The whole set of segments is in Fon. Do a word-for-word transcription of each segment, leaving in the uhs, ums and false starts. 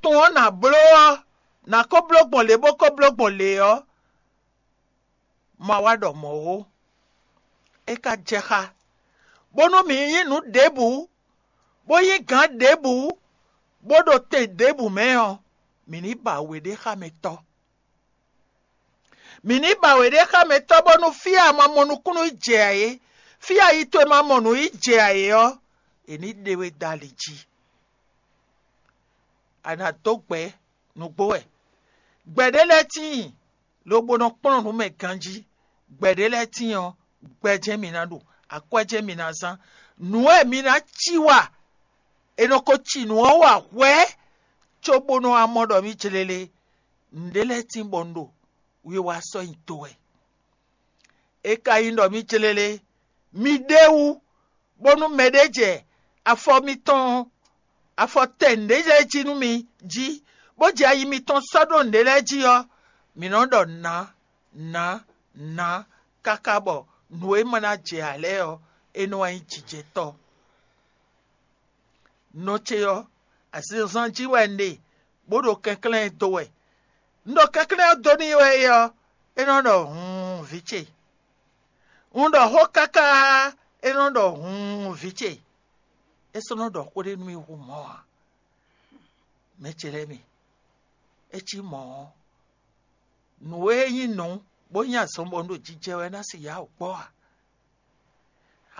tɔn ɔ́ nǎ bló ɔ́, nǎ ko bló gbɔn lě bó ko bló gbɔn lě ɔ́, ma wá ɖɔ mɔ̌ ó. É ka jɛ xá, bónú mǐ nyí nǔ ɖěbǔ, bó nyí gǎn ɖěbǔ, bó ɖo tɛn ɖěbǔ mɛ ɔ́, mǐ ní ba wěɖéxámɛtɔ́. Mǐ ní ba wěɖéxámɛtɔ́ bónú fí e a ma mɔ nukúnnú yi jɛ ǎ é, fí e ayi towe ma mɔ nǔ yi jɛ ǎ é ɔ́, è ní ɖe we dó ali jí. A nǎ dó gbɛ̌ nǔgbó wɛ. Gbɛ̌ ɖé lɛ́ɛ tíin, lobo nɔ kplɔ́n nǔ mɛ ganjí. Gbɛ̌ ɖé lɛ́ɛ tíin ɔ́, gbɛ jɛ́n mi ná ɖu, akwɛ́ jɛ́n mi ná zán. Nǔ e mi ná cí wa, è nɔ ko ci nǔ ɔ́ wa hwɛ̌, cóbónú a mɔ ɖɔ mǐ jlélé. Nǔɖé lɛ́ɛ tíin bɔ un ɖo wiwa sɔ́ nyi do wɛ. É ka nyí ɖɔ mǐ jlélé, mi ɖ'é wú, bónú mɛɖé jɛ afɔ mitɔn, afɔ tɛn nǔɖé lɛ́ɛ jí nú mi jí, bó jɛ ayi mitɔn sɔ́ ɖó nǔɖé lɛ́ɛ jí ɔ́, mǐ nɔ ɖɔ nǎ, nǎ, nǎ, káká bɔ nǔ e ma ná jɛ ǎ lɛ́ɛ ɔ́, é nɔ wá nyí jijɛtɔ́. Nɔ ce ɔ́, azinzɔnnɔ jí wɛ un ɖe, bó ɖo kɛnklɛ́n ɛ dó wɛ. Un ɖo kɛnklɛ́n ɔ́ dó n'i wɛ é ɔ́, é nɔ ɖɔ: "Huun, vǐ ce." Un ɖɔ xó káká, é nɔ ɖɔ: "Huun, vǐ ce." É sɔ́ nɔ ɖɔ xó ɖé nú mì hú mɔ̌ ǎ. Mɛ ce lɛ́ɛ mi, é cí mɔ̌ ɔ́, nǔ e nyí nǔ, bó nyí azɔn bɔ un ɖo jijɛ wɛ ná se yá wǔ kpɔ́ ǎ.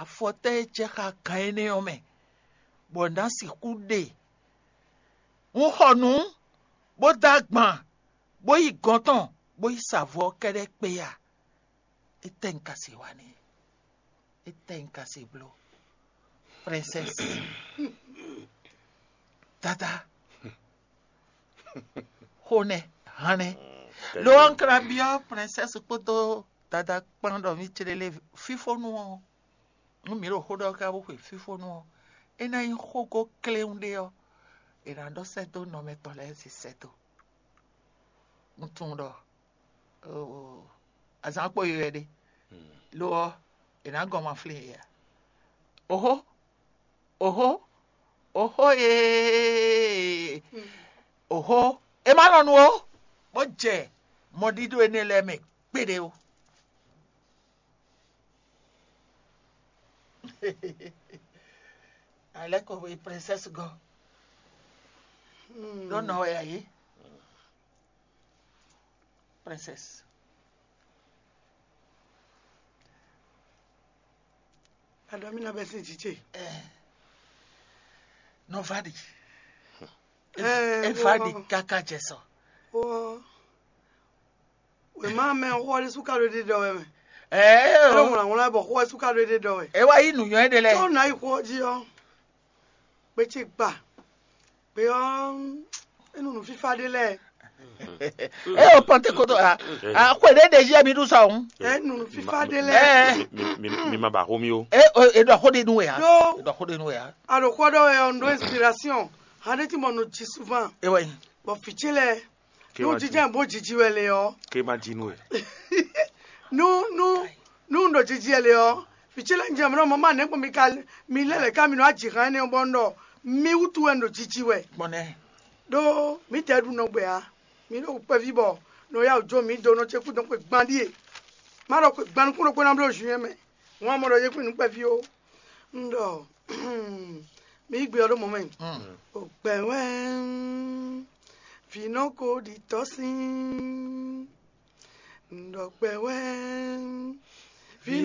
Afɔtɛ́ e jɛ xá gan énɛ́ ɔ́ mɛ, bɔ nǎ sixú ɖe? Un xɔ nǔ, bó dó agban, bó yi gɔ̌n tɔn, bó yi sa vo ɔ́ kɛ́ɖɛ́ kpé a? Étɛ́ un ka se wa n'i? Étɛ́ un ka se bló? Princesse, dada, xonɛ, hannɛ. Lo ɔ́, un ka ná byɔ́ princesse kpódó dada kpán ɖɔ mǐ clélé fífónú ɔ́, nú mǐ ɖo xó ɖɔ ká bó xwe fífónú ɔ́, é ná nyí xógó kléwún ɖé ɔ́, è nǎ ɖɔ sɛ́ dó nɔ mɛtɔn lɛ́ɛ zé sɛ́ dó. Un tunwun ɖɔ azǎn kpo yi wɛ ɖe, lo ɔ́, è nǎ gɔn ma flín yě ǎ. Oxó, oxó, oxó ee, oxó, é má nɔ nu ó, bó jɛ mɔɖíɖó énɛ́ lɛ́ɛ mɛ kpéɖé ó. Alɛ́ ko e princesse gɔ́ ɖó nɔ wɛ ǎ é. Princesse. Aɖɔ mi na bɛ sin jije. Nɔ va ɖi. Ɛ, é va ɖi káká jɛ sɔ. Wɔ wema mɛ xɔ ɖé suka ɖo ɖe ɖɔ wɛ mɛ. Ɛɛ, ɛlɔ ŋlɔ ŋlɔ bɔ xɔ suka ɖo ɖe ɖɔ wɛ. E wa yi nuyɔ ɖe lɛ. Tó na yi xɔ ji ɔ. Kpetsé gba. Gbe ɔ, enu nu fifa ɖe lɛ. E o pɔnte koto a, a xwe ɖe ɖe yi mi ɖu sɔ ŋu. Enu nu fifa ɖe lɛ. Ɛ, mi, mi, mi ma ba xo mi o. E o e ɖɔ xo ɖe nu ya. Ɖo e ɖɔ xo ɖe nu ya. A ɖo xɔ ɖɔ wɛ ɔ, n ɖo inspiration. Hande ti mɔ no ji souvent. E wɛ. Bɔ fitse lɛ. Ke nu ma ji. Jijɛ bo jiji wɛ le ɔ. Ke ma ji nu wɛ. Nu nu nu ɖo jiji wɛ le ɔ. Fitse lɛ n jɛ mɔ mɔ ma ne kpɔ mi ka mi lɛ lɛ ka mi nɔ aji hàn ne bɔ n ɖɔ mi wutu wɛ n ɖo jiji wɛ. Kpɔnɛ. Ɖo mi tɛ ɖu nɔ gbɛ a. Mi ɖo kpɛvi bɔ nɔ ya jo mi do nɔ ce kú dɔn kpɛ gban ɖie. Ma ɖɔ kpɛ gban nukun ɖo kpɛ na bló juin mɛ. Wọn mɔ ɖɔ ye kpɛ nu kpɛvi o. N ɖɔ mi gbe ɔ ɖo mɔ mɛ. O gbɛ wɛ. Vǐ nɔ ko ɖi tɔ́ sín. Un ɖɔ kpɛ wɛ. Vǐ